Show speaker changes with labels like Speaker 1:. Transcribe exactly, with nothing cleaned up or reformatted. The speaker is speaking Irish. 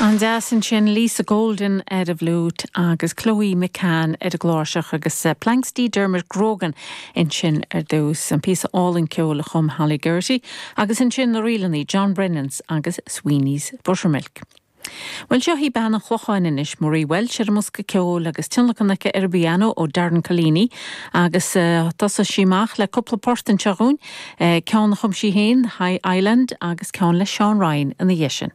Speaker 1: An-deas ansin Lisa Golden ar an bhfliúit agus Chloe McCann ar an gcláirseach agus uh, Planxty Dermot Grogan ansin ar dtús an píosa álainn ceoil a chum Holly Geraghty agus ansin na rílannaí John Brennans agus Sweeney's Buttermilk. Well seo í bean an Chlocháin anois Marie Walsh ar an mbosca ceoil agus tionlacan aici ar an bpianó ó Darren Collini agus uh, tosóidh sí amach le cúpla port anseo dúinn, uh, ceann a chum sí féin High Island agus ceann le Sean Ryan ina dhiaidh sin.